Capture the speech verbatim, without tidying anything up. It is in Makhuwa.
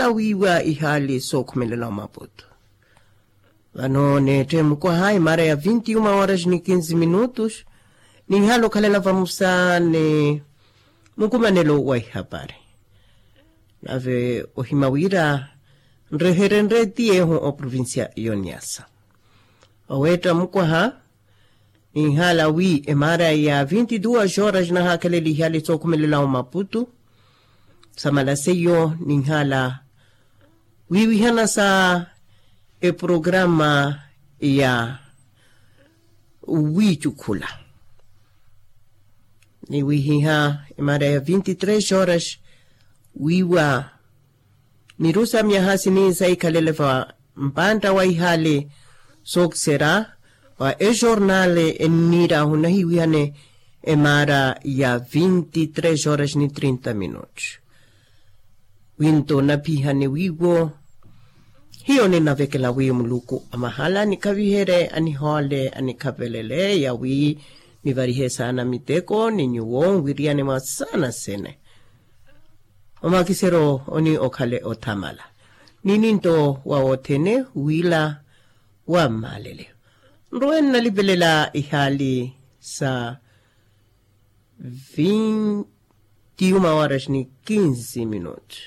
wiiwa ihaali sookhumelela omaputu. Vano neettehi mukwaha imaara ya vinti uma horas ni kinzi minutos. Ninhala okhalela vamusa ni mukumanelo wa ihapari. Nave ohima wira nreherenre ti yeehu oprovincia yoniyasa oweetta mukwaha. Ninhala wi emaara ya vinti duas horas nahakheleliha lisookhumelelau maputu. Samala seiyo ninhala wiwihana sa eprograma ya wiicukhula niwihiha emaara ya vinti tres horas. Wiiwa niru sa myaha sini saikhalele va mpantta wa ihali sooksera wa ejornale enniirahu nahiwihane emaara ya vinti tres horas ni trinta minutos. Winto naphihane wiiwo hiyo ninavekela wi muluku amahala nikhaviherye anihoole anikhavelele yawi nivarihe saana miteko ni nyuwo nwiriyane mwa saana sene. Omakiseryo oni okhale othamala ni ninto wa wothene wila wa mmalele. Nrowe nnalipelela ihaali sa vinti uma horas ni kinzi minutos.